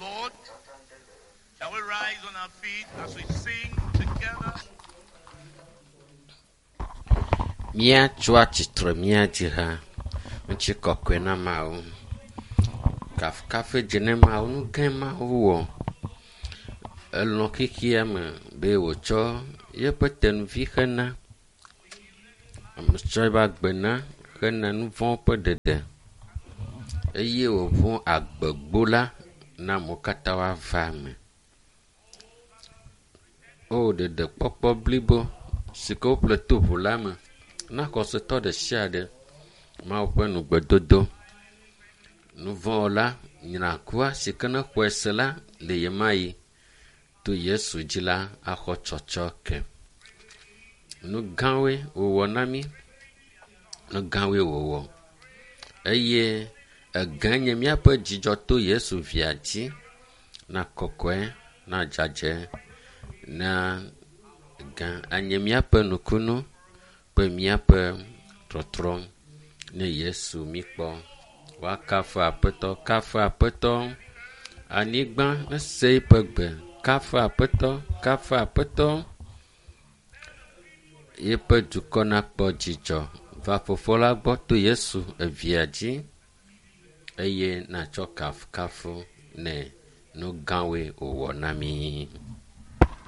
Lord. Shall we rise on our feet as we sing together? Míatso atsitre míadzi ha. Ŋutikɔkɔe na Mawu. Kafukafu dze ne Mawu. Nu gãe Mawu wɔ. Elɔ̃ xexea me be wòtsɔ yeƒe tenuvi hena. Ame tsɔ eƒe agbe na hena nu vɔ̃ ƒe ɖeɖe eye wòŋu agbegbo la na amewo katã woava eme. O ɖeɖekpɔkpɔ blibo si ke woƒle to ʋu la me na xɔsetɔ ɖe sia ɖe. Mawu ƒe nugbedodo. Nuvɔ̃wɔla nyrakua si ke ne xɔe se la le ɣemaɣi to Yesu dzi la axɔ tsɔtsɔke. Nu gãwoe wòwɔ na mí. Nu gãwoe wòwɔ. Eye egã nye míaƒe dzidzɔ to Yesu via dzi na kɔkɔe, na dzadzɛ, na gã anye míaƒe nukunu kple míaƒe trɔtrɔ ne Yesu míkpɔ. Woakafu Aƒetɔ, kafu Aƒetɔ. Anyigba nese eƒe gbe. Kafu Aƒetɔ, kafu Aƒetɔ. Yeƒe dukɔ nakpɔ dzidzɔ. Va Fofo la gbɔ to Yesu evia dzi eye natsɔ kafukafu nɛ. Nu gãwoe wòwɔ na mí.